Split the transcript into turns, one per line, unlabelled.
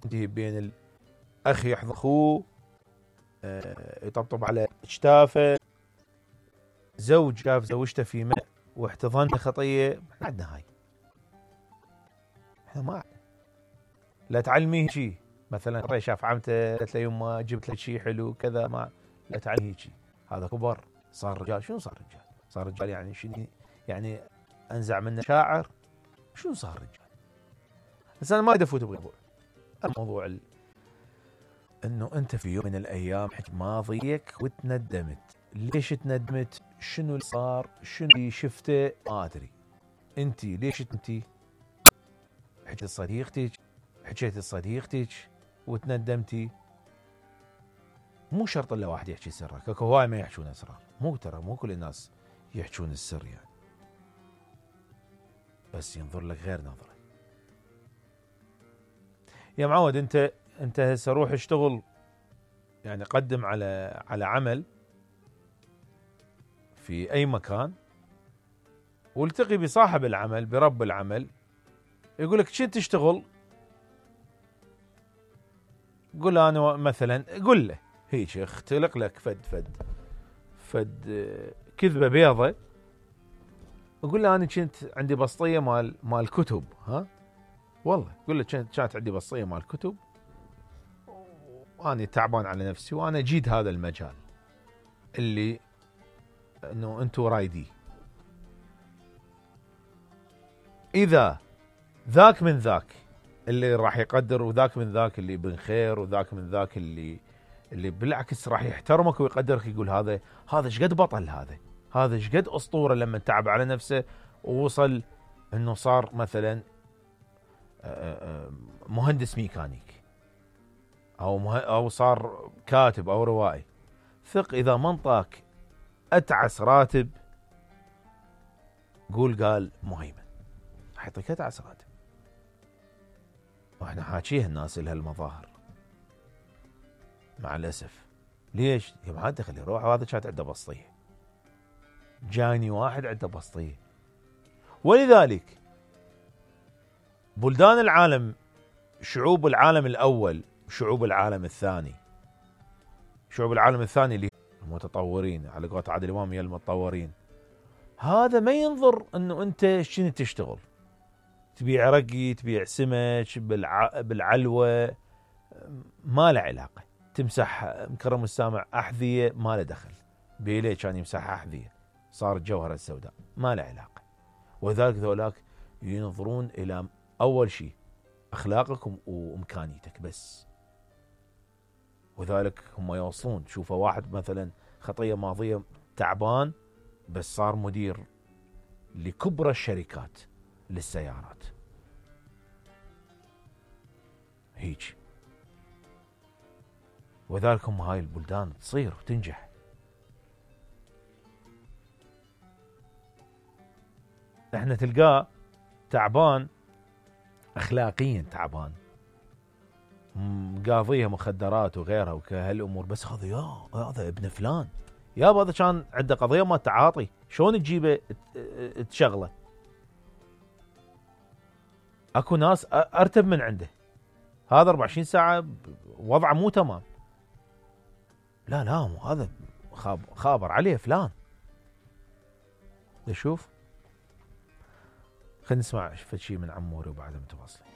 تنتهي بين الاخ يحضن اخوه، يطبطب على اجتافه، زوج شاف زوجته في ماء واحتضنها خطيه، ما عندنا هاي. احنا ما عندنا. لا تعلميه شيء، مثلا شاف عمته قالت له يما جبت لك شيء حلو كذا، ما لا تعلميه شيء. هذا كبر صار رجال. شنو صار رجال؟ صار رجال يعني شنو؟ يعني انزع منه شاعر؟ شنو صار رجال؟ بس انا ما اريد افوت بموضوع الموضوع انه انت في يوم من الايام حكيت ماضيك وتندمت. ليش تندمت؟ شنو اللي صار؟ شنو اللي شفته؟ ما ادري. انت ليش انت حكيت لصديقتك وتندمتي؟ مو شرط الا واحد يحكي سرك، اكو هواي ما يحكون اسرار. مو كل الناس يحكون السر يعني، بس ينظر لك غير نظره. يا معود انت هسه روح اشتغل، يعني قدم على عمل في اي مكان، والتقي بصاحب العمل برب العمل، يقول لك شو تشتغل؟ قول انا مثلا، قول له هيك اختلق لك فد كذبه بيضه، اقول له انا كنت عندي بسطيه مال كتب. ها والله قول له كانت عندي بسطيه مال كتب، وانا تعبان على نفسي، وانا جيد هذا المجال اللي انه انتم رايديه. اذا ذاك من ذاك اللي راح يقدر، وذاك من ذاك اللي بن خير، وذاك من ذاك اللي بالعكس راح يحترمك ويقدرك، يقول هذا ايش قد بطل، هذا ايش قد اسطوره لما تعب على نفسه ووصل انه صار مثلا مهندس ميكانيك، او صار كاتب او روائي. ثق اذا منطاك اتعس راتب، قال مهيمن حيعطيك اتعس راتب. واحنا حاكيها الناس لها المظاهر مع الاسف. ليش؟ يا ما دخل يروح، وهذا كانت عنده بسطيه، جاني واحد عنده بسطيه. ولذلك بلدان العالم، شعوب العالم الاول، شعوب العالم الثاني اللي المتطورين على قولة عادل امام يا المتطورين، هذا ما ينظر انه انت شنو تشتغل، تبيع رقي، تبيع سمك بالعلوه، ما له علاقه. تمسح مكرم السامع احذيه، ما له دخل. بيليه كان يمسح احذيه، صار الجوهره السوداء، ما له علاقه. وذلك ذولاك ينظرون الى اول شيء اخلاقك وامكانيتك بس. وذلك هم يوصلون. شوفوا واحد مثلا خطيه ماضيه تعبان، بس صار مدير لكبرى الشركات للسيارات. هيك. وذلك هم هاي البلدان تصير وتنجح. احنا تلقاه تعبان اخلاقيا، تعبان قاضيها مخدرات وغيرها وكهالامور، بس هذا ابن فلان، يابا هذا كان عنده قضيه ما تعاطي، شلون تجيبه تشغله؟ اكو ناس ارتب من عنده، هذا 24 ساعه وضعه مو تمام. لا مو هذا خابر عليه فلان. نشوف، خلينا نسمع شيء من عموري وبعدها متواصلين.